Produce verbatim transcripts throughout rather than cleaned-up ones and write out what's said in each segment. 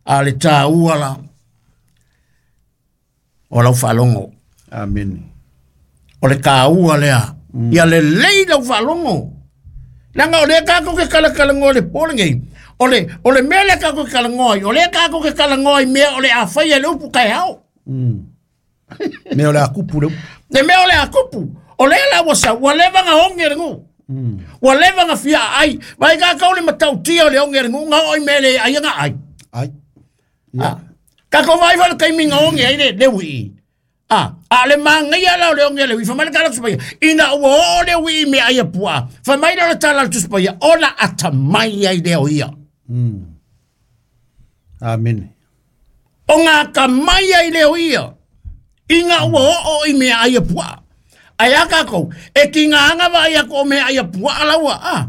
A le tāua la o lau faalogo. Amene. O le kāua lea. Mm. Ia lelei lau faalogo. Leaga o lea kākou ke kalakalagoa i le po lenei. O le, o le mea lea kākou ke kalanoa ai, o lea kākou ke kalanoa i mea o le a faia le upu taeao. Mm. Mea o le a kupu le upu. Le mea o le a kupu. O lea la ua sau, ua leva na oge le nuu. Mm. Ua leva na fia ai. Vai kākou le matautia o le oge le nuu, nga oo i mea le ai nga ai. Ai. Ah. Kākou vai fa le taimi nga oge ai le, le ui. Ah, a le mangaia la o le oge le ui. Fa mai le tala tusi paia. Ina ua oo le ui i mea ai a pua. Fa mai la o le tala le tusi paia. Ona atamai ai lea o ia. Mm. Amene. O ngā atamai ai lea o ia. Ina ua oo i mea ai a pua. Ai a kākou, e ki ngā anga vai ako o mea ai a pua alaua. Ah.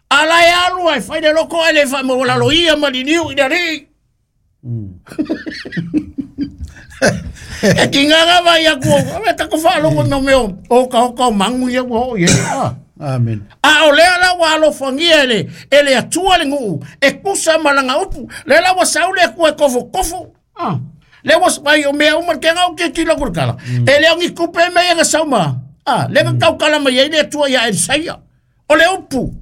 Ala e alu ai whai le loko ai le wha mawalalo ia maliliu i le rii. Mm. E ki ngā anga vai ako, e tako whaalongo no meo, o ka hoka o mangu ia ua o ia. Ah. Amen. A o lea la ua alofagia e le, e le Atua le nuu, e kusa ma langa upu. Le la ua sau le Atua e kofokofo. Ah. Le ua vai o mea uma ke ngau ke tilo kura kala. Mm. E leo ni kupe me ia nga sau ma. Ah, le nga kaukala mai ai le Atua ia Elisaia. O le upu.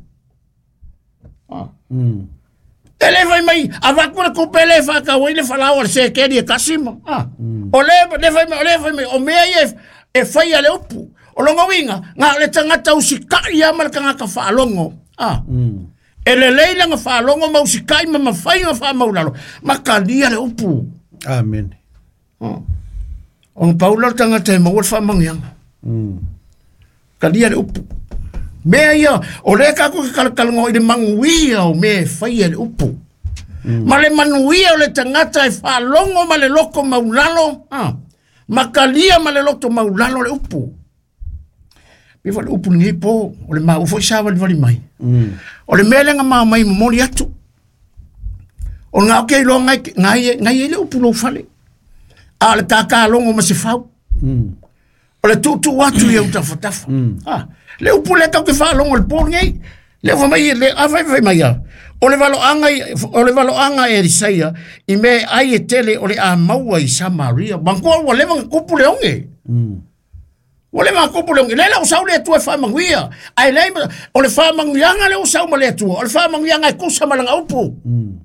Ah. Mm. E le fai mai, avaku le kupe le whakawai le whalau o le sekeri e kasima. Ah. Mm. O le, le fai mai, o le fai mai, o mea ia e, e whai a le upu. O longa winga, ngā le tangata usikai ia ma le tangata whaalongo. Ah. Mm. E le leila ngā whaalongo ma usikai ma mawhai ngā whaamaulalo. Makalia le upu. Amen. Ah. O ngā paula le tangata e maua le whaamangianga. Mm. Kalia le upu. Mea ia, o le kako ke kalakalango i le manguia o mea e whai e le upu. Mm. Ma le manuia o le tangata e whaalongo ma le loko maulalo. Ah. Makalia ma le loto maulalo le upu. Pe fa le upu lenei po, o le mau foi sa wali wali mai. Mm. O le mea lenga mau mai momoli atu. O ngā oke iloa ngai, ngai, ngai e le upu lou fale. A le kākālongo ma se fau. Mm. O le tūtū atu ia utafatafa. Mm. Ah, le upu le kau ke whaalongo le pō nei. Le fa mai, le a fai fai mai ia. O le valoanga, o le valoanga e Elisaia, i me ai e tele o le a maua i Samaria. Mangua ua leva nga kupu le onge. Mm. Ua leva nga kupu le onge. Le la o sau le Atua e whamanguia. Ai le, o le whamanguianga le o sau ma le Atua. O le whamanguianga e kusa ma langa upu. Mm.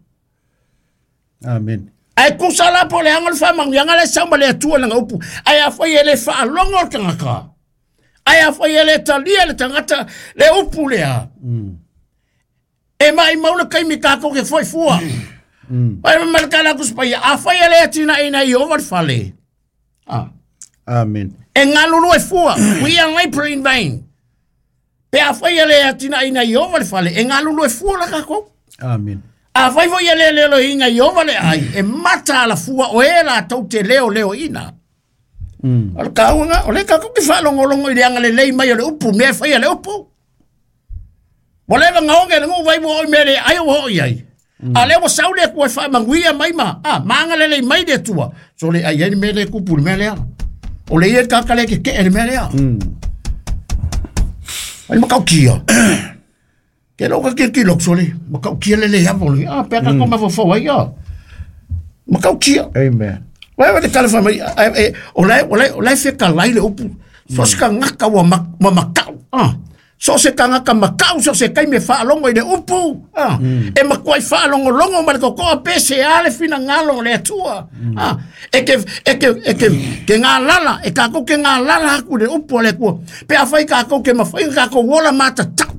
Amen. Ai kusa la po le anga le whamanguianga le sau ma le Atua langa upu. Ai a whai e le whaalongo o tangata. Ai a whai e le talia le tangata le upu lea. Mm. E mai maula kai mi kākou ke foi fua. Mm. Ai ma le kala kuspaia. A whai e le atina ina i over fale. Ah. Amen. E ngalulu e fua. We are labor in vain. Pe a whai e le atina ina i over fale. E ngalulu e fua la kākou. Amen. A whai foi e le lelo inga i over le ai. E mata ala fua o e la tau te leo leo ina. Mm. O le kāuanga, o le kākou ki whaalongolongo i le anga le lei mai o le upu, mea whai a le upu. Mo lewa ngā onge le ngu vai mo oi mea le ai o hoi ai. Mm. A lewa sau le kua whamanguia mai ma, ah, maanga le lei mai le tua. So le ai ai mea le kupu le mea lea. O le ia kākale ke ke le mea lea. Mm. Ai makau kia. Ke loka ke ki lok so le, makau kia le le apo le. Ah, pea kākou mawhawhau ai ia. Makau kia. Amen. Wai wai te kala whamai, e, o lai, o lai, o lai wheka lai le upu. So se ka ngaka ua ma, ua makau. Ah. So se ka ngaka makau, so se kai me whaalongo i le upu. Ah. Mm. E makuai whaalongo longo ma le kokoa pese a le whina ngalo le atua. Mm. Ah. E ke, e ke, e ke, ke ngā lala, e kākou ke ngā lala haku le upu a le kua. Pe a whai kākou ke mawhai kākou wola mata tau.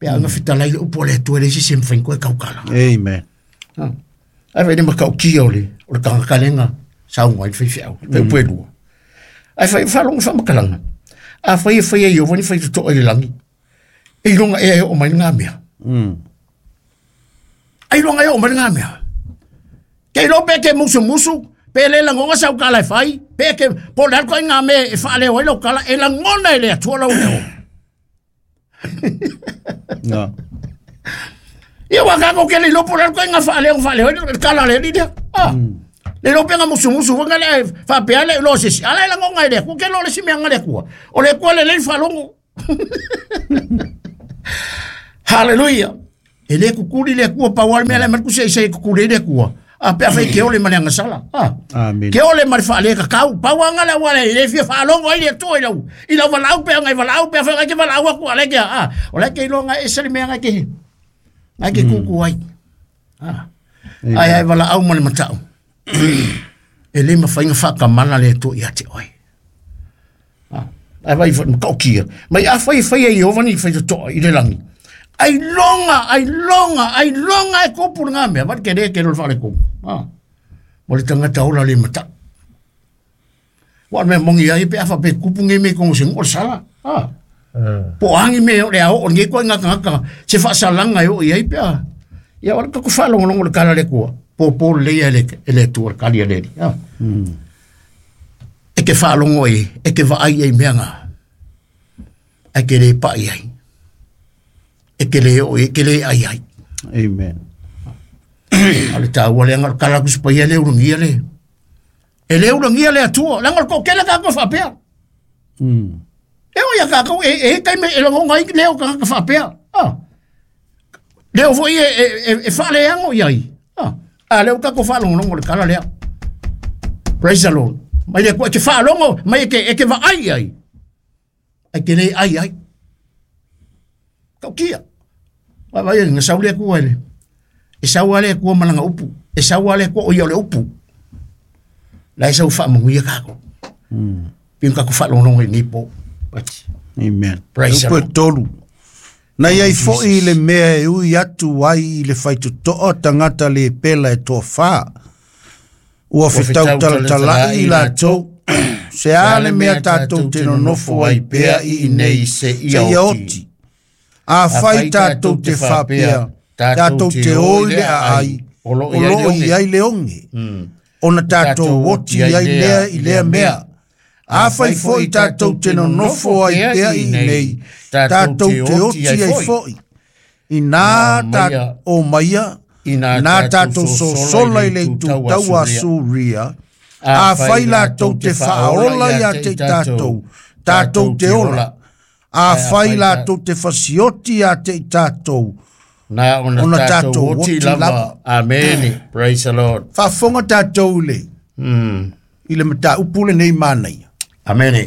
Pe a nga whita lai le upu a le atua le isi se mwhain koe kaukala. Amen. Ah. Ai whai ne makau kia o le, o le kangakalenga, saunga i whai whiau, pe upu e lua. Ai whai whalongo whamakalanga. A whai e whai e iova ni whai tutoa i le langi. E ilonga e ai o mai ngā mea. Mm. Ai ilonga e o mai ngā mea. Ke ilo pe ke musu musu, pe le langonga sau kala e whai, pe ke po le alko i ngā mea e whaaleo ai lau kala, e langona e le atua lau leo. No. Ia wā kākou ke le ilopo le alko i ngā whaaleo whaaleo, le kala le li lea. Ah. Le lope nga musu musu, wanga le whapea le lo sisi. Ala e langonga i le akua, ke lo le si mea nga le akua. O le akua le le whalongo. Hallelujah. E le kukuli le kua pa wal me le mar kusi se kukuli le kua. A pe fa ke ole ma le ngasala. Ah. Amen. Ke ole ma le fa le ka kau pa wanga la wala le fia fa longo ai le toi lau. I lau walau pe ngai walau pe fa ke walau aku ale ke ah. O le ke longa e se le me ngai ke. Ngai ke kuku ai. Ah. Ai ai wala au ma le matau. E le ma fa fa ka mana le toi ate oi. Ah. Ai vai fa ka okia. Mai a fa fa i ovani fa to i le langi. Ai longa, ai longa, ai longa e kopu ngā mea. Wat ke re ke rol whare kopu. Ah. Mo le tangata ola le mata. Wa me mongi ai pe afa pe kupu nge me kongo sing o sala. Ah. Po angi me o le ao o nge koe ngā ngā se whaasalanga e o i ai pe a. Ia wala kaku whalongo longo le kala le kua. Po po le ia le le tua kali le. Ah. E ke whalongo e, e ke vaai e mea ngā. Ai ke le pa i ai. E ke le o e ke le ai ai. Amen. Ale ta wale ngal kala kus pa le urangia le. E le urangia le atua, la ngal ko kela ka ko fa pea. Mm. E o ya ka ko e e kai me e lo ngai le o ka ka fa pea. Ah. Le o foi e e e fa le ango iai. Ah. A le o ka ko fa longo longo le kala le. Praise the Lord. Mai le ko ke fa longo, mai ke e ke va ai ai. Ai ke le ai ai. Kau kia. Vai vai nga saule ku ele. E saule ku malanga upu. E saule ku o le upu. La e sau fa mo ia ka ko. Mm. Pin ka ku fa longo longo ni po. Amen. Praise the Lord. Tolu. Na iai foi le mea e ui atu ai i le whaitotoa tangata le pela e toa wha. Ua whitau talatalai i lātou. Se a le mea tātou te nonofo ai pea i inei se se ia oti. A whai tātou te whapea, tātou te oi le ai, o lo i ai le onge. Ona tātou oti ai lea i lea mea. A whai foi tātou te nonofo ai pea i nei, tātou te oti ai foi. Inā tā o maia, inā tātou sosola i le tūtaua Suria, a whai lātou te whaola ia te tātou, tātou te ola. A whai lātou te whasioti a te tātou. Nā ona Ona tātou tātou oti oti lava. lava. Amen. Praise the Lord. Whawhonga tātou le. Mm. I le mata upule nei mānei. Amen.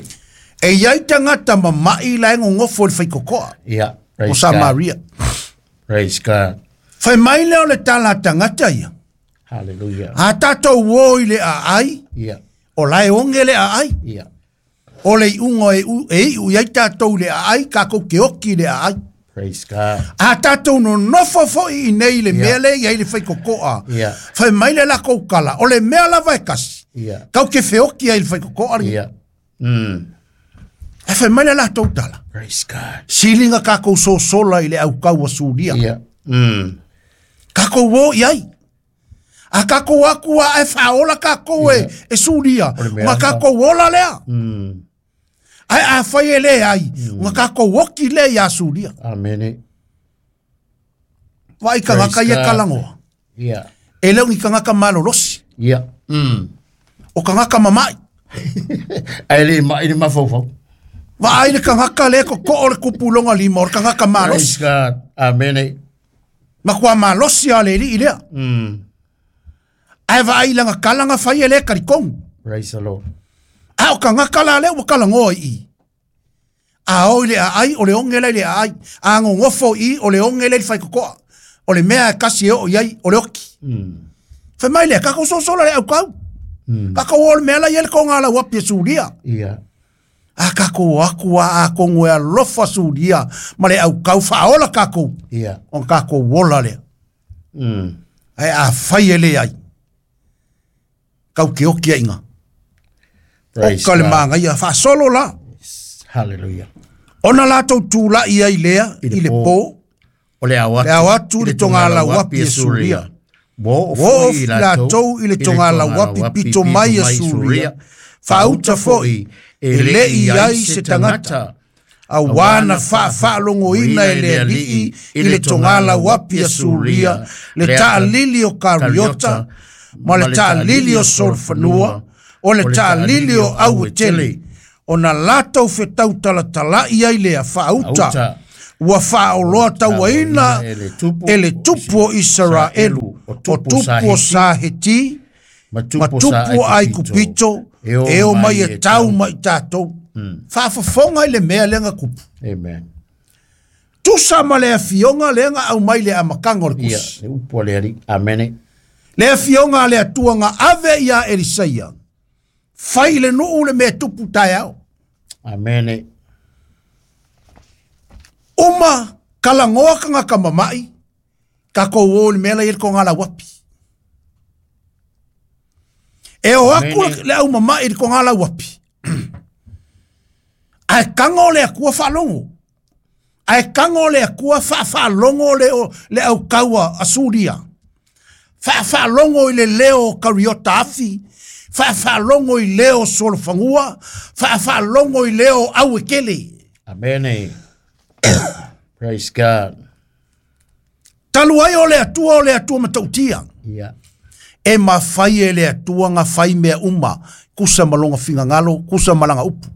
E iai tangata mamai la e ngongofo le whaikokoa. Yeah. O Praise God. Samaria. Praise God. Whai mai leo le tala tangata ia. Hallelujah. A tātou o i le a ai. Yeah. O lae onge le a ai. Yeah. O le ungo e u e u iai tātou le a ai. Kako ke oki le a ai. Praise God. A tātou no nofo foi i nei le Yeah. mea le iai le whaikokoa. Yeah. Whai mai le lako kala. O le mea lava e kasi. Yeah. Kau ke wheoki ai le whaikokoa. Yeah. Mm. E whai mai le lātou tala. Praise God. Silinga kākou sosola i le au kaua suria. Yeah. Mm. Kākou o i ai. A kākou aku a e whaola kākou e, e suria. O le mea Nga kākou ola lea. Mm. Ai a whai e le ai. Nga kākou oki le i a suria. Amen. Vai ka ngaka Praise ia God. kalangoa. Yeah. E leo ni kangaka malolosi. Yeah. Mm. O kangaka mamai. Ai le ma i le mafofo. Va ai le kangaka le ko ko o le kupulonga lima o le kangaka Praise malosi. God. Amen. Ma kua malosi a le li i lea. Mm. Ai va ai langa kalanga whai e le karikongu. Praise the Lord. A o kangaka la le ua kalangoa i. A o i le a ai, o le onge le le a ai. A ngongofo i, o le onge le le whaikokoa. O le mea e kasi e o i ai, o le oki. Mm. Whai mai lea, kako sosola le au kau. Mm. Kako o le mea la i ele ko ngā lau api e suria. Yeah. A kako o aku a a kongo e alofa suria. Ma le au kau whaola kako. Yeah. O kako wola lea. Mm. Ai a whai e le ai. Kau ke oki a inga. Praise O ka le God. maanga ia whaasolo la. Hallelujah. Ona lātou tūla i ai lea, I le i le pō. pō, O le au atu. Le au atu i le tonga lau api e Suria. Wo o Wo foi o lātou i le tonga lau api pito mai e Suria. Whauta foi, e le i ai se tangata. A wana whawhalongoina e le alii i le tonga lau api e Suria. Le taalili o Kariota, ma le taalili o Solfanua, o le taalili o Auetele. O na lātou whetau talatalai ai lea whauta. Auta. Ua faaoloa tauaina e le tupu o Isaraelu, o tupu o Saheti, ma tupu o Aikupito, e o mai e tau mai tatou. Faafofoga i le mea lea na kupu. Amen. Tusa ma le afioga lea na aumai le amataga o le kusi. Ia, le upu a le Alii. Amene. Le afioga a le Atua na ave ia Elisaia, fai le nuu le mea tupu taeao. Amene. Uma kalagoa kangaka mamai, takou o le mea la i le kogala wapi. E o aku le au mamai i le kogala wapi. Ae kago le Atua faalogo. Ae kago le Atua faafaalogo le, le aukaua a Suria. Faafaalogo i le leo kariota afi. Faafaalogo i leo solofagua. Faafaalogo i leo auekele. Amene. Praise God. Talu ai o le Atua o le Atua matautia. Yeah. E mafai e le Atua nga fai mea uma. Kusa malonga fingangalo, kusa malanga upu.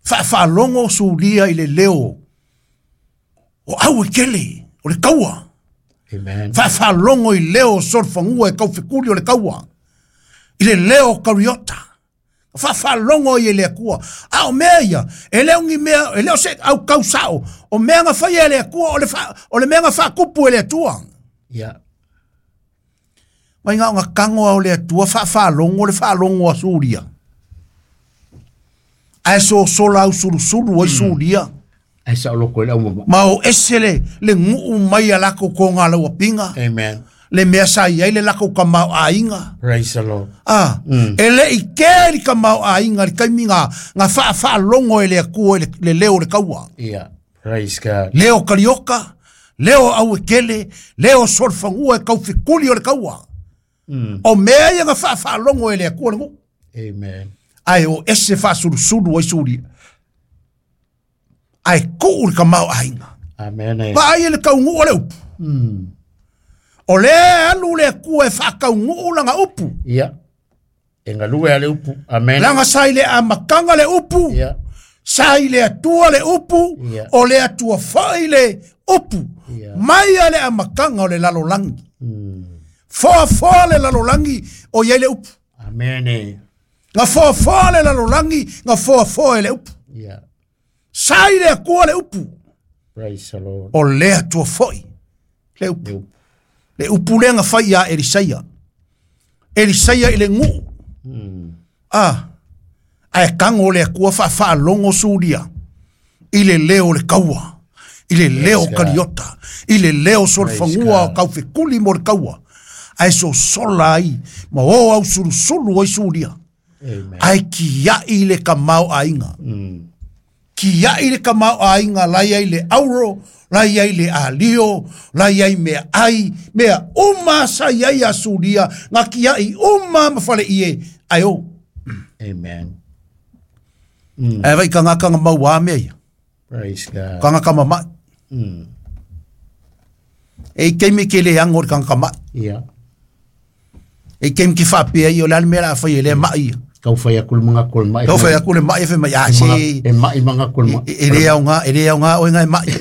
Faafaalogo Suria i le leo o auekele, o le kaua. Amen. Faafaalogo i leo solofagua e kaufekuli o le kaua. I le leo kariota. Faafaalogo i le Atua. A o mea ia, e leo ni mea, e leo se au kausao. O mea nga fai e le Atua, o le, fa, o le mea nga faakupu e le Atua. Yeah. Mai ngā ngā kango au le Atua, faafaalogo le faalogo a Suria. Ae so sola au sulusulu ai Suria. Ai sa oloko i le au mama. Ma o ese le, le nguu mai a lako ko ngā laua pinga. Amen. Le mea sa iai le lako ka mau ainga. Praise the Lord. Ah, mm. E le i kea li ka mau ainga, li kaimi ngā, ngā faafaalogo e le Atua e le, le leo le kaua. Yeah, praise God. Leo karioka, leo auekele, leo solfangua e kaufikuli o le kaua. Mm. O mea ia ngā faafaalogo e le Atua le nguu. Amen. Ae o ese faasulusulu ai Suria. Ae kuu le ka mau ainga. Amen. Vaai e le kaungu o le upu. Mm. O le alu le Atua e faakaunguu langa upu. Ia. E ngalue a le upu. Amen. Langa sai le amakanga le upu. Ia. Sai le Atua le upu. Ia. O le Atua fai le upu. Ia. Mai a le amakanga o le lalolangi. Mm. Foa foa le lalolangi o iai le upu. Amen. Nga foa foa le lalolangi, nga foa foa e le upu. Ia. Sai le Atua le upu. Praise the Lord. O le Atua foi le upu. Le upu. Le upu lea nga fai ia Elisaia. Elisaia i le nguu. Mm. Ah, ae kango le Atua faafaalogo Suria. I le leo le kaua. I le leo kariota. I le leo solofagua o kaufekuli mo le kaua. Ae sosola ai, ma o au sulusulu ai Suria. Amen. Ae kiai le kamau ainga. Mm. Kiai le kamau ainga, lai ai le auro, lai ai le alio, lai ai mea ai, mea uma sa iai a Suria, ngā kiai uma mawhale ie, ai o. Amen. Mm. Ai vai ka ngā kanga maua mea ia. Praise God. Ka ngā kama mai. Mm. E keimi ke le ango ka ngā mai. Yeah. E keimi ki whapea i o le almea la whai e le mai ia. Kau whai aku le mga kol mai. Kau whai aku le mai e whai mai. Ah, se... E mai mga kol mai. E le au ngā, e le au ngā o ngā e mai.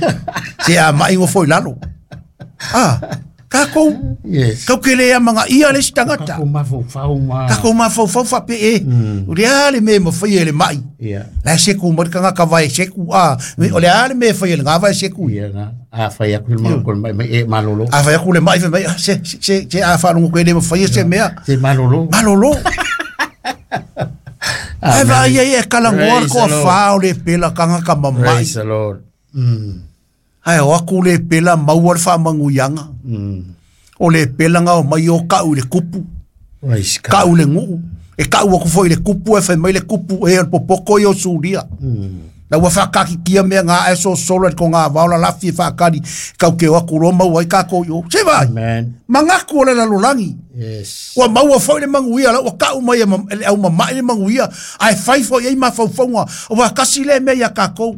Se a mai ngō foi lalo. Ah, kākou. Yes. Kau ke lea mga ia le si tangata. Kākou mafaufau ma. Kākou mafaufau whape e. O le ale me ma whai e le mai. Yeah. La seku mai ka ngā ka vai seku. Ah, o le ale me whai e le ngā vai seku. Yeah, ngā. A whai aku le mga kol mai e malolo. A whai aku le mai whai mai. Se, se, se a whalungu koe le ma whai e se mea. Se malolo. Malolo. Ai vai ai e kalangoa ko fa o le pela kanga ka mamai. Praise the Lord. Mm. Ai o aku le pela maua le whamanguyanga. Mm. O le pela ngā o mai o kau le kupu. Praise God. Kau le nguu. E kau aku foi le kupu e whai mai le kupu e o le popoko i o Suria. Mm. Na ua whakakikia mea ngā eso solo e ko ngā vaola lafi e whakari. Kau ke o aku roma ua i kako i o. Se vai. Amen. Mangaku o le lalolangi. Yes. Ua maua foi le manguia la ua kau mai e le au mamai le manguia. Ai fai foi ei mawhaufaunga. Ua kasi le mea ia kākou.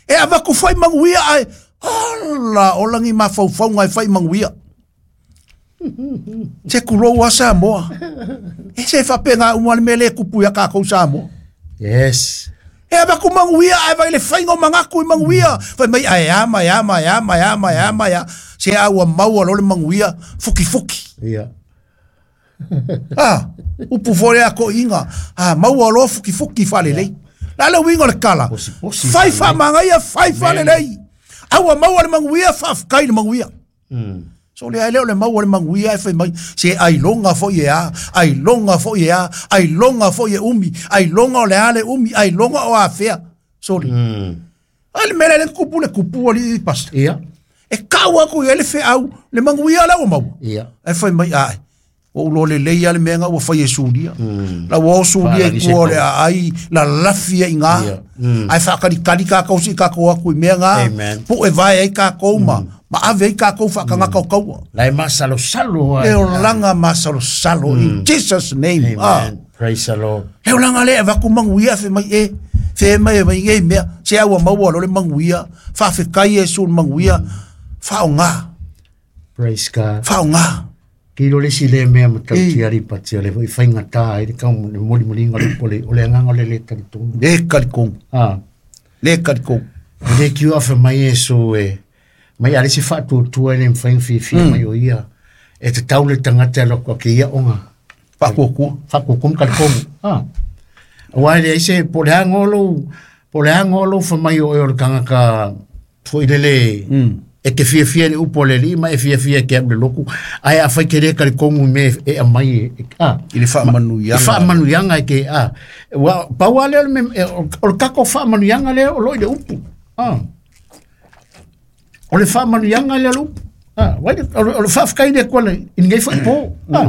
E awaku foi manguia ai. Ala, o langi mawhaufaunga e fai manguia. Se kurou a Samoa. E se whape ngā umua le mele kupu ia kākou Samoa. Yes. E ava ku manuia ai vai le fainga o mangaku i manuia. Fai mai ai ama ai ama ai ama ai ama ai ama ai se au a maua lo le manuia fuki fuki. Ia. Ah, upu fole a ko inga. Ah, maua lo fuki fuki fale lei. La le wingo le kala. Posi posi. Fai fa mangaia fai fale lei. Au a maua le manuia fa fkai le manuia. Mm. So le ai le maua le manuia e fai mai se ai longa fo ye a ai longa fo ye a ai longa fo ye umi ai longa o le ale umi ai longa o afea sorry mm. Ale mele le kupu le kupu ali pas ia e kaua ku ele fe au le manuia la o mau ia e fai mai ai o lo le le ia le menga o fai e sulia la o sulia ku o le ai la lafia inga ai fa kali kali ka ko si ka ko ku menga pu e vai ai ka ko ma ma ave ka ko fa ka ka ko la e masalo salo e o langa masalo salo in Jesus name. Amen. Ah. Praise the Lord. E o langa le va ku manguia fe mai e fe mai mai e mea se au maua lo le manguia fa fe kai e sul manguia fa o nga. Praise God. Fa o nga. Ki lo le si le mea ma tau tiari pati le foi whainga tā i le kau le moli moli ngā le pole o le anganga le le talitonga. Le kalikong. Ah. Le kalikong. Le kiu awha mai e so e mai ale se whaatuatua e le mwhainga whiwhia mm. mai o ia. E te tau le tangata loko ke ia onga. Whakuakua. Whakuakua kalikongu. Ah. Wai le se po le hangolo, po le hangolo wha mai o e o le kangaka foi lele. Mm. E te fia fia le upo le lima e fia fia ke le loku ai a fai kere kare kongu me e a mai e a i le whaamanuianga i whaamanuianga e ke a wa paua le me o le kako whaamanuianga le o loi le upu a o le whaamanuianga le upu a wai o le whaafkai le kola i ngai whai po a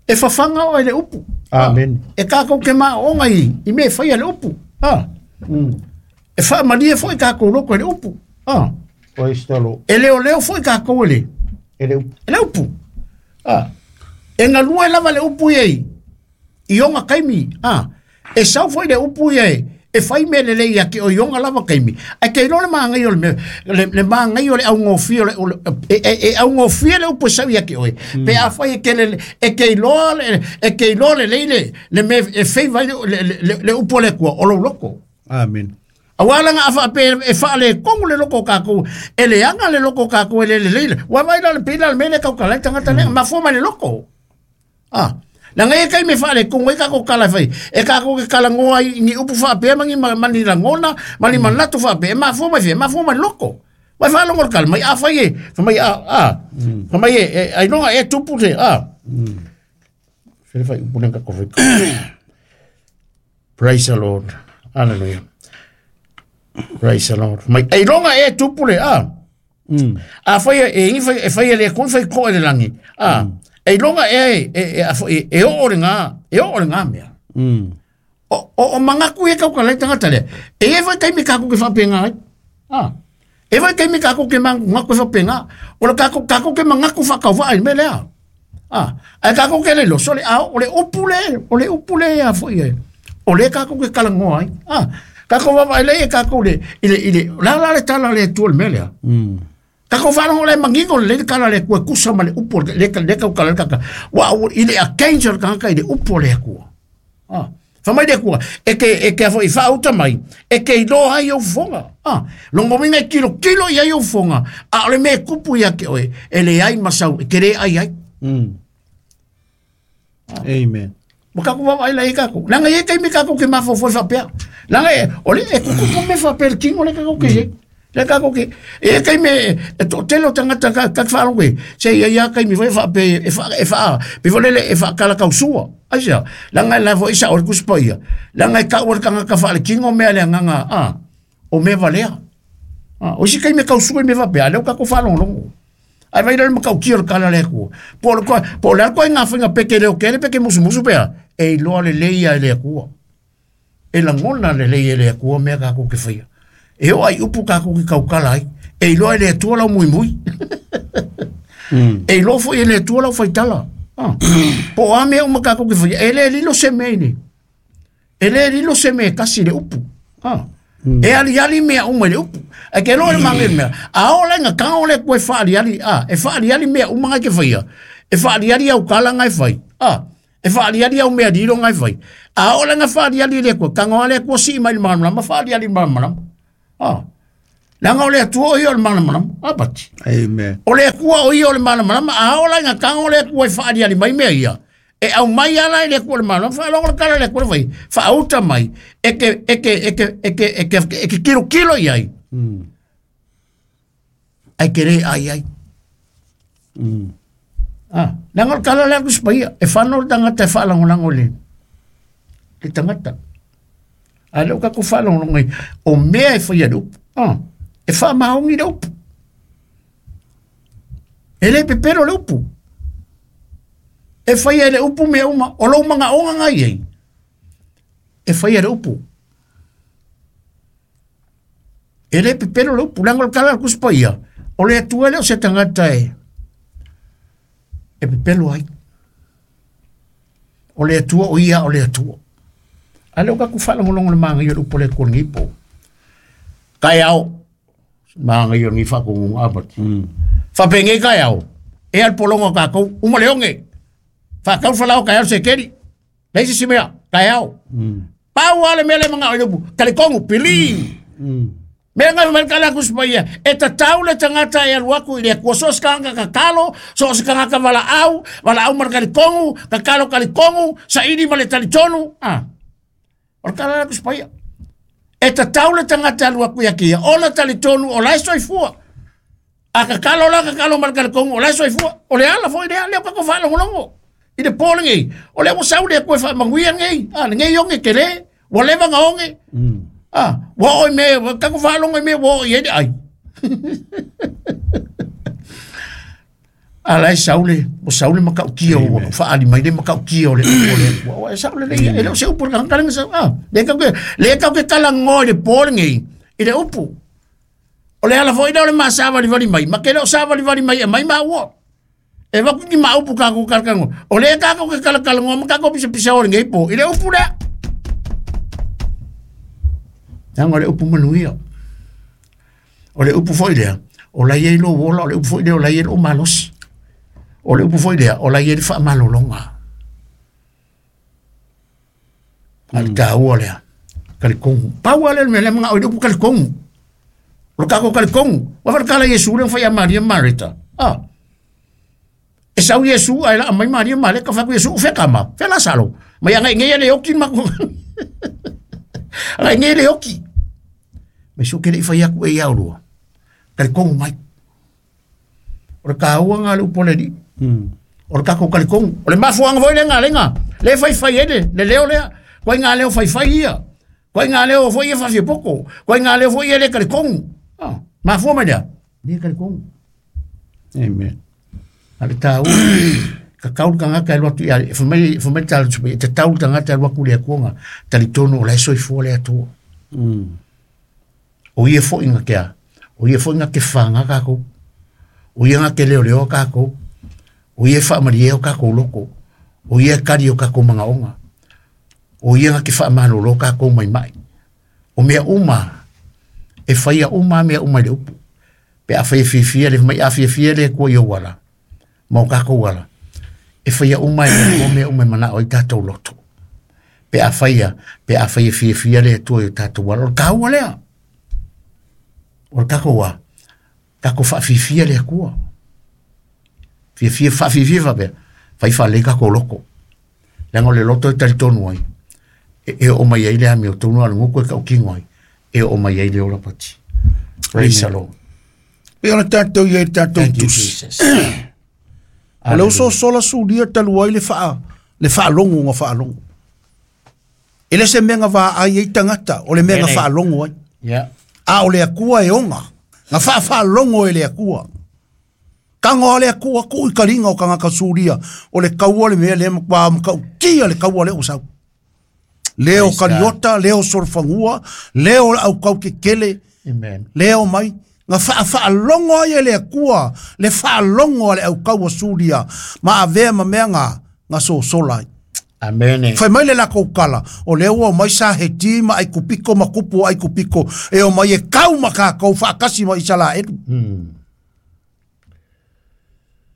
e whawhanga o le upu. Amen. E kako ke ma onga i i me whai le upu a e whaamalia fo i kako loko le upu a Praise the Lord. E leo leo foi ka ko le. E le upu. E le upu. Ah. E ngalua e lava le upu iei. I onga kaimi. Ah. E sau foi le upu iei. E fai me le lei ake o i onga lava kaimi. Ai ke ilo le maangai o le me, le, le maangai o le au ngofia o le, o le e, e, e au ngofia le upu e sau ia ke oe. Mm. Pe a fai e ke le, e ke iloa le, e ke iloa le lei le, le me, e fei vai le, le, le, le upu le kua, o lo loko. Amen. Awala nga afa pe e fa le kongu le loko kako e le anga le loko kako e le le le wa vai la le pila le mele ka ka le tangata le ma fo ma le loko ah la ngai kai me fa le kongu e ka ko kala fai e ka ko ke kala ngoa ni upu fa pe mangi mani la ngona mani manatu fa pe ma fo ma fe ma fo ma loko wa fa longo kala mai a fa ye fa mai a a fa mai e ai longa e tupu te a fe fa upu le ka ko fe. Praise the Lord. Hallelujah. Praise the Lord. Mai ai longa e tupule a. Mm. A fai e ingi fai e fai le kon fai ko le langi. A ai longa e e e e o le nga, e o le nga mea. Mm. O o o mangaku e ka ka le tangata le. E e fai kai me ka ku ke fa penga ai. A. E fai kai me ka ku ke mangaku fa penga. O le ka ku ka ku ke mangaku fa ka va ai me le a. A. Ai ka ku ke le lo so le a o le upule, o le upule a foi e. O le ka ku ke kala ngoa ai. A. Kako va le kako le ile ile la la le tala le tu le melea. Mm. Kako va le mangingo le kala le ku kusa ma le upo le le ka kala ka wa ile a kenjo ka ka ile upo le ku. Ah. Fa mai le ku e ke e ke fo i fa uta mai e ke lo ai o fonga. Ah. Longo minga kilo kilo ia o fonga. A le me kupu ia ke oe e le ai masau e ke le ai ai. Mm. Amen. Maka ku va ile ka ku. Langa ye kai me ka ku ke ma fo fo fa pea. Langa e ole e ku ku me fa per kingo le ka ku ke. Le ka ku ke. E kai me e to telo tangata ka ka fa longue. Se ia ia kai me fa pe e fa e fa pe fo le e fa kala ka usua. Ai sia. Langa la fo isa o ku spo ia. Langa ka o ka ka fa le kingo me le nganga a. O me valea. Ah, o si kai me ka usua me fa pe ale ka ku fa longo. Ai vai le makau ki o kala le ku. Po le ko po le ko nga finga peke le o kele peke musu musu pea. E iloa le leia e le akua. E langona le leia e le akua mea kako ke whaia. E o ai upu kako ke kaukala ai. E iloa e le atua lau mui mui. Mm. E iloa fo e le atua lau whaitala. Ah. Po a mea uma kako ke whaia. E le lilo se mea ini. E le lilo se mea kasi le upu. Ah. Mm. E ali ali mea uma le upu. E ke loa le mange mea. A o lenga ka o le koe whaali ali. Ah. E whaali ali mea uma ngai ke whaia. E whaali ali au kala ngai whai. Ah. E whaaliali au mea riro ngai whai. A o lenga whaaliali le kua, kango ale kua si mai le malamalama, whaaliali malamalama. Ah. Langa o le atua o ia o le malamalama. Ah, pati. Amen. O le atua o ia o le malamalama, a o lenga kango le kua i whaaliali mai mea ia. E au mai ala i le kua le malamalama, whaalongo le kala le kua le whai. Whaauta mai, eke, eke, eke, eke, eke, eke kilo kilo iai. Mm. Ai kere ai ai. Mm. Ah, nanga o kala le kuspaia, e whano le tangata e whaalangolango le. Le tangata. A leo kako whaalangolango i, o mea e whaia le upu. Ah, e whaamaongi le upu. E le pepero le upu. E whaia le upu mea uma, o lau manga onga ngai ei. E whaia le upu. E le pepero le upu, nanga o kala le kuspaia, o le atua le o se tangata e. E pepelo ai. O le atua o ia o le atua. A leo kaku whaalangolongo le maanga i o le upo le kua ngipo. Kai ao. Maanga i o ngi whakongunga apati. Mm. Whapenge kai ao. E al polongo kakou. Uma le onge. Whakau whalao kai ao se keri. Leisi simea. Kai ao. Mm. Pau ale mele manga o le upu. Kalikongu. Pili. Mm. Mea ngai mai kala kuspaia. E tatau le tangata e alu aku i le kua so se kanga kakalo, so se kanga ka wala au, wala au mar kalikongu, kakalo kalikongu, saidi ma le talitonu. Ah. O kala kuspaia. E tatau le tangata e alu aku ia kia. O le talitonu, o lai soifua. A kakalo la kakalo mar kalikongu, o lai soifua. O le ala foi le ala o kako whalongolongo. I le pōle ngei. O le wasau le kue wha manguia ngei. Ah, ngei onge kele. Wa lewa nga onge. Mm. Ah, wa oi me, kako whalongo me, wa oi ere ai. Ala e saule, o saule makaukia o whaali mai le makaukia o le o le o e saule le ia, e le o se upu le kalenga sa, ah, le kau ke, le kau ke kala ngoi le pōle ngei, i le upu. O le ala foi le o le maa wali mai, ma ke le o sāwali wali mai e mai maa ua. E waku ki maa upu kako kalakango. O le kako ke kalakalango, ma kako pisa pisa o le ngei pō, i le upu lea. Nanga le upu manuia. O le upu foi lea, o lai ei lo wola, o le upu foi lea, o lai ei lo malosi. O le upu foi lea, o lai ei le whaamalolonga. A le tāua lea, kalikongu. Pau ale le mea mga o le upu kalikongu. O le kako kalikongu. Wa whakala Yesu le mwhai a Maria Marita. Ah. E sau Yesu, ai la mai Maria Marita, ka whaku Yesu, wheka ma, whela salo. Mai anga ngea le oki mako. Anga ngea le oki. Me su kere i whai aku e iau rua. Kalikongu mai. O le kāua ngā le upo le ni. Mm. O le kako kalikongu. O le mafuanga foi le ngā lenga. Le whai whai ele, le leo lea. Koe ngā leo whai whai ia. Koe ngā leo foi e whawhia poko. Koe ngā leo foi e le kalikongu. Ah, mafua mai lea. Le kalikongu. Amen. A le tāua. Ka kaulu tangata e luatu ia. E whamai, whamai tālu tsupe. E te taulu tangata e luaku le akuanga. Talitonu o lai soifua le atua. Mm. O ia foi ngā kea. O ia foi ngā ke whanga kākou. O ia ngā ke leo leo kākou. O ia whaamarie o kākou loko. O ia kari o kākou mga onga. O ia ngā ke whaamalolo kākou mai mai. O mea uma. E whaia uma mea uma le upu. Pe a whaia fiafia le mai a fiafia le kua i o wala. Mau kākou wala. E whaia uma e o mea uma mana o i tātou loto. Pe a whaia, pe a whaia fiafia le tua i o tātou wala. O kāua lea. O le kako wa, kako whaafifia le akua. Fiafia, whaafifia whapea, whai whalei kako loko. Langa o le loto e talitonu ai. E, e o mai ai le ami o tonu ala nguku e kau kingo ai. E o mai ai le ola pati. Praise the Lord. Pe ona tātou ia i tātou Thank you, tusi. Jesus. O le uso sola sulia talu ai le whaa, le whaalongo nga whaalongo. E le se menga wā ai ei tangata, o le menga Ene. whaalongo ai. Yeah. A o le akua e onga. Nga whaawhaalongo e le akua. Kango a le akua ku i karinga o kangaka suria. O le kaua le mea le makwa makautia le kaua le o sau. Leo Praise God. kariota, leo sorfangua, leo au kau ke kele, Amen. leo mai. Nga whaawhaalongo ai e le akua, le whaalongo a le au kaua suria. Ma avea ma mea nga, nga sosola ai. Amen. Fai mai le lako kala, o le ua o mai sa he ti ma ai kupiko ma kupu ai kupiko, e o mai e kau ma kākou whaakasi ma isala elu. Mm.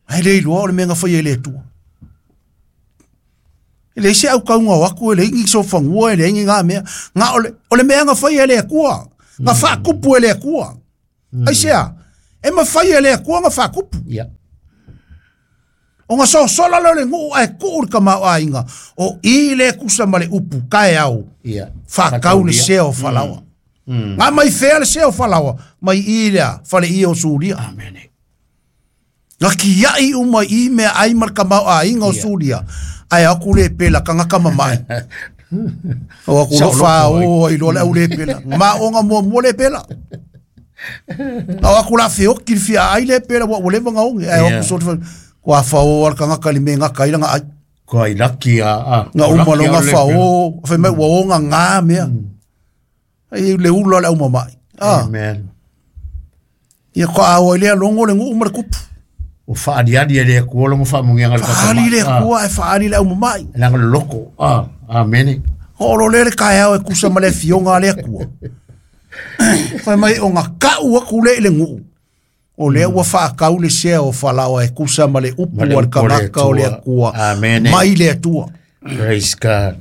Ai le iloa o le menga whai e le atua. E le isi au kaunga o aku e le ingi sofangua e le ingi ngā mea. Ngā ole, ole mea ngā whai e le akua. Ngā whaakupu e le akua. Mm. Ai sea, e ma whai e le akua ngā whaakupu. Yeah. O ngā sosola leo le nguu ai kuu le kamau a inga. O i le kusa ma le upu, kae au. Yeah. Whakau le sea o whalawa. Mm. Mm. Ngā mai whea le sea o whalawa, mai i lea, whale i o Suria. Amen. Ngā kiai uma i mea ai ma le kamau a inga o Yeah. Suria. Ai aku le pela kanga kama mai. O aku lo fa o i lo le au le pela. Ma o nga mua mua le pela. O aku la feo ki fia ai le pela wa le vanga onge. Ai aku so ko a fa o al kanga kali me nga kai nga ai. Ko ai laki a a. Nga uma lo nga fa o fa me wa o nga nga mea. Ai le ulo le uma mai. Ah. Amen. Ia ko a o le longo le ngu uma le kupu. O whaariari e le kua longo whaamungianga le Whaari le kua e whaari le au mai. Nanga loko. Ah, amene. O lo le kai au e kusa ma le fionga le kua. Whai mai o ngā kau aku le le ngu. O le ua whaakau le sea o whalawa e kusa ma le upu al kanaka o le akua. Amene. Mai le atua. Praise God.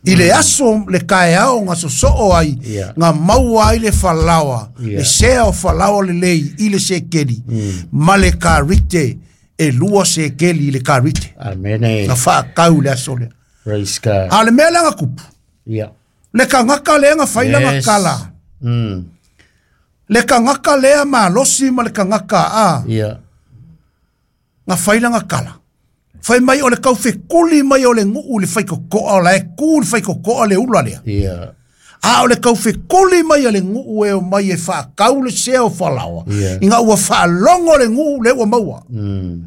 I le aso le kai au ngā sosoo ai, yeah. ngā maua ai le whalawa, yeah. le sea o whalawa le lei, i le sekeli, mm. ma le karite, e lua sekeli i le karite. Amene. Ngā whaakau le aso lea. Praise God. A le mea langa kupu. Yeah. Le kangaka lea ngā whaila yes. ngā kala. Mm. Le kangaka lea malosi ma le kangaka a. Yeah. Ngā whaila ngā kala. Whai mai o le kauwhe kuli mai o le nguu le whaikokoa o la e kū le whaikokoa le ula lea. Yeah. A o le kauwhe kuli mai o le nguu e o mai e whaakau le sea o whalawa. Yeah. I ngā ua whaalongo le nguu le ua maua. Mm.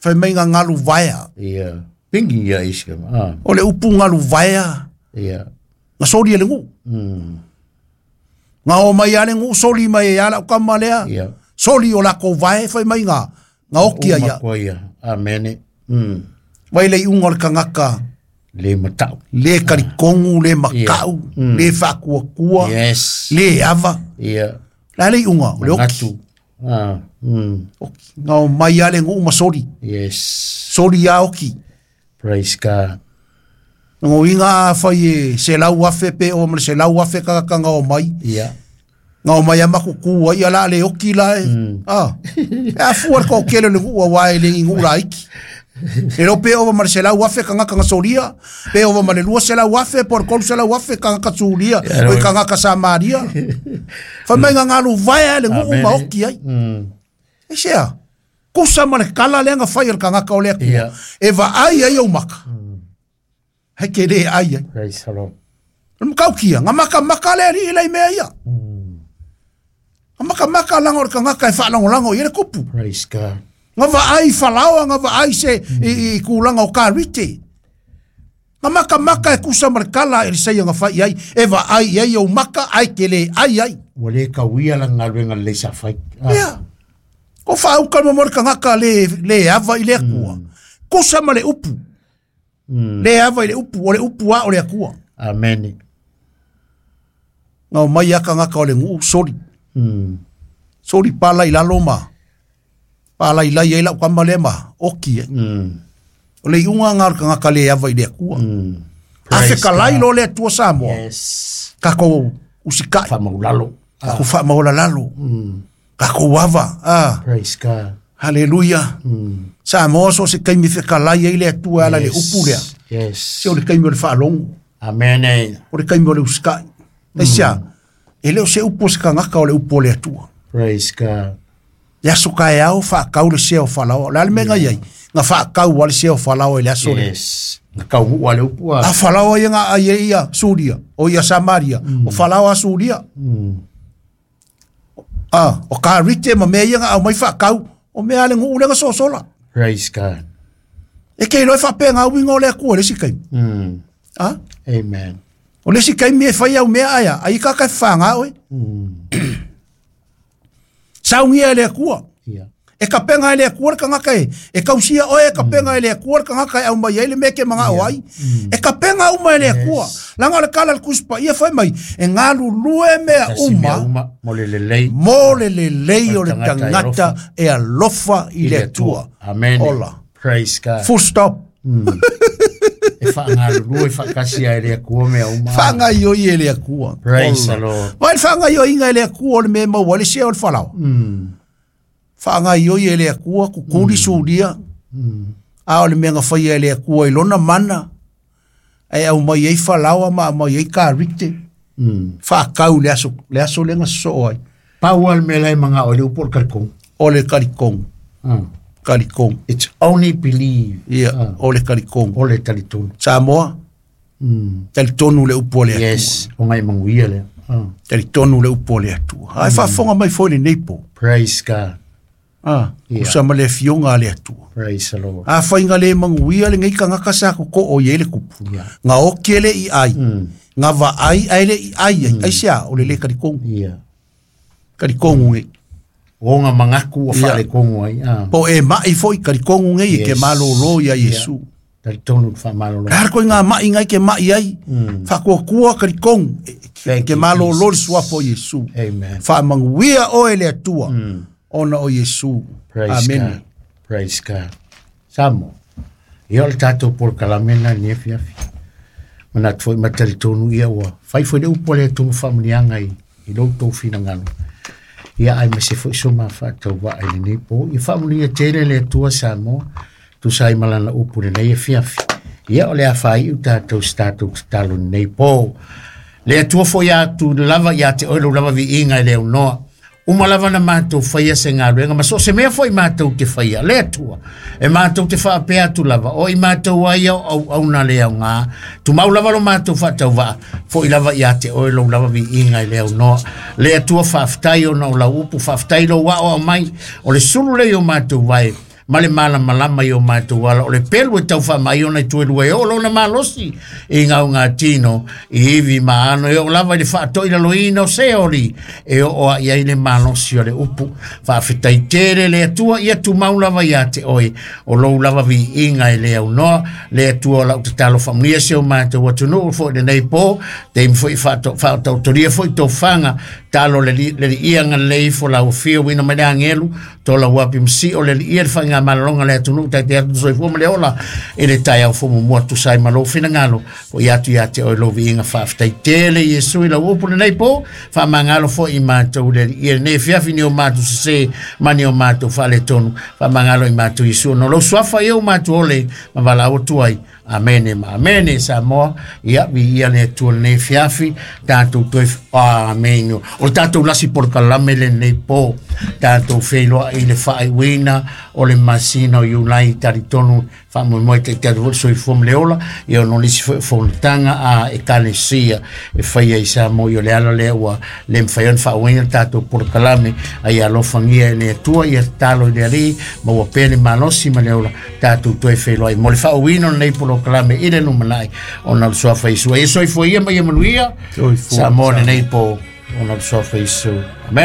Whai mai ngā ngalu vaea. Yeah. Pingi ia iska. Ah. O le upu ngalu vaea. Yeah. Ngā sori e le nguu. Mm. Ngā o mai a le nguu soli mai e ala ukama lea. Yeah. Soli o lako vae whai mai ngā. Ngā okia ia. Uma ia. Amene. Mm. Vai le unga o le kangaka. Le matau. Le karikongu, le makau, Yeah. Mm. le whakuakua, Yes. le ava. Yeah. La le unga, o le oki. Ngatu. Ah. Mm. Oki. Ngā o mai a le ngu uma sori. Yes. Sori a oki. Praise God. Ngō inga a whai e se lau afe pe o ma le se lau afe kaka ngā o mai. Yeah. Ngā o mai a makuku ai a la le oki la e. Mm. Ah. E a fua le kōkele le ngua wae le ngu la iki. E lo pe ova ma le se lau afe kanga kanga soria. Pe ova ma le lua se lau afe, por kolu se lau afe kanga katsuria. Yeah, O i kanga kasamaria. Whai mai ngā ngalu vaea le ngu uma oki ai. Mm. E sea, kusa ma le kala le nga whai o le kangaka o le akua. Yeah. E va ai ai au maka. Hei ke le ai ai. Praise the Lord. Le mkaukia, ngā maka maka le ari ilai mea ia. Ngā maka maka langa o le kangaka e whaalangolango i le kupu. Praise God. Ngā va ai whalaoa, ngā va ai se i, i kūlanga o karite. Ngā maka maka e kusa ma le kala e le saia ngā whai ai. E va ai ai au maka, ai ke le ai ai. Ua le kawia la ngaluenga le sa whai. Ah. Ia. Ko whaauka mo le kangaka le, le ava i le akua. Kusa ma le upu. Mm. Le ava i le upu, o le upu a o le akua. Amen. Ngā o mai a kangaka o le nguu, sori. Mm. Sori pala i lalo ma. Pala i lai e lau kama le ma. Oki e. Mm. O le iunga ngā o le kangaka le ava i le akua. Mm. A Praise whekalai God. lo le atua Samoa. Yes. Kako usikai. Whamaulalo. Kako whaamaola lalo. Mm. Kako ava. Ah. Praise God. Hallelujah. Mm. Samoa so se kaimi whekalai e le atua ala le upu lea. Yes. Se o le kaimi o le whaalongo. Amen. eh. O le kaimi o le usikai. Mm. Esia, e leo se upu o se kangaka o le upu o le atua. Praise God. Le aso ka e ao, whaakau le sea o whalawa. Le ale me ngai ai, ngā whaakau a le sea o whalawa i le aso le. Yes. Ngā kau a le upu a. A whalawa ia ngā ai e ia Suria, o ia Samaria, o whalawa a Suria. Mm. Ah, o ka rite ma mea ia ngā au mai whaakau, o mea ale ngu ulenga sosola. Praise God. E ke iloi whapea ngā uinga o le akua le si kaimi. Mm. Ah? Amen. O le si kaimi e whai au mea aia, ai kaka e whanga oe. Mm. Saungia e le akua. Yeah. E kapenga e le akua le kangaka e. E kausia oe e kapenga e le akua le kangaka e au mai ai le meke manga o ai. E kapenga uma e le akua. Langa o le kala le kuspa ia whai mai. E ngalu lue mea Tasi mea uma. uma. Mo le lelei. Mo le lelei o le Tangata e tangata e alofa i le atua. Amen. Ola. Praise God. Full stop. E whaangalulu e whaakasia e le akua mea uma. Whaangaioi e le akua. Praise the Lord. Vai le whaangaioiga e le akua o le mea maua le sea o le falaoa. Mm. Whaangaioi e le akua kukuli mm. sulia. Mm. A o le mea ngawhaia e le akua i lona mana. E au mai ei falaoa ma au mai ei karite. Mm. Whaakau le aso, le aso lenga soo ai. Pau al mea lai manga o le upo o le kalikong. O le kalikong. Mm. Kalikong. It's only believe. Ia, Ah. o le kalikong. O le talitonu. Samoa, Mm. talitonu le upo o le atua. Yes, o ngai manguia lea. Ah. Talitonu le upo o le atua. Ai whaafonga mai foi le nei po. Praise God. Ah, Yeah. usa ma le fionga a le atua. Praise the Lord. A whainga le manguia le ngai kangaka sa ko ko o ye le kupu. Yeah. Ngā oki ele i ai. Mm. Ngā va ai ai le i ai ai. Ai sea, o le le kalikongu. Yeah. Kalikongu ngai. O ngā mangaku o Yeah. whale kongu ai. Ah. Po e mai foi kalikongu ngai e ke Yes. malolo ia Yeah. Yesu. Talitonu le whaamalolo. Har koi ngā mai ngai ke mai ai. Mm. Whakuakua kalikongu. E- Thank Ke you, malolo le Jesus. suapo Yesu. Amen. Whaamanguia o e le atua. Mm. Ona o Yesu. Praise Amen. God. Praise God. Samo. Ia o le tātou por kalamena ni e fiafi. Mana tfoi matalitonu ia ua. Whai foi le upo le tumu whamunianga i, i lou tau whinangalo. Ia ai ma se foi so ma whaatau wa ai lenei po. Ia whaamunia tele le atua Samoa. Tu sai malana upu le nei e fiafi. Ia o le a whai u tātou si tātou talo nei po. Le atua foi atu lava ia te oilo lava vi inga i leo noa. Uma lava na mātou whaia se ngā ruenga, ma so se mea foi mātou te whaia, le atua. E mātou te whaapea atu lava, o i mātou ai au au au na leo ngā. Tu mau lava lo mātou whaatau waa, foi lava ia te oe lo lava vi inga i leo noa. Le atua whaaftai o na o lau upu, whaaftai lo wao au mai, o le sulu le o mātou vai, ma le malamalama i o mātou ala o le pelu e tau whaamai ona i tuelua e o lona malosi i ngau ngā tino i iwi maano e o lava i le whaatoi lalo ina o se ori e o oa i ai le malosi o le upu whaawhitai tere le atua ia tu mau lava ia te oe o lou lava vi inga i le au noa le atua o lau te talo whamunia se o mātou atunuu fo i le nei pō te imi fo i whaatautoria fo i tō whanga talo le li, le li ia ngā lei fo lau fio wina mai le angelu tō lau api msi o le li ia le whainga malalonga le atunu tai te atu soifua ma le ola e le tai au fumu mua tu sai malo finangalo o i atu ia te oi lovi inga whaaftai tele Yesu i lau upu le nei pō whamangalo fo i mātou le ia nei fiafi ni o mātou sese mani o mātou whale tonu whamangalo i mātou Yesu no lau suafa i o mātou ole ma wala o tuai Amene ma amene Samoa ia vi ia le atua le nei fiafi tātou toe amen o tātou lasi por kalame le nei pō tātou wheiloa i le whaaiwina o le masina o Iulai taritonu whaamoemoe te te atu soifua ma le ola ia ono lisi foi fonotaga a ekalesia e faia i Samoa i o le ala lea ua le mafai ona faauaina le tatou polokalame ai alofagia e le Atua ia tatalo i le Alii ma ua pea le malosi ma le ola tatou toe feiloai mo le faauina o lenei polokalame i le lumanai ona o le suafa Iesu. Ia soifua ia ma ia manuia Soifua. Samoa lenei po ona o le suafa Iesu. Amen.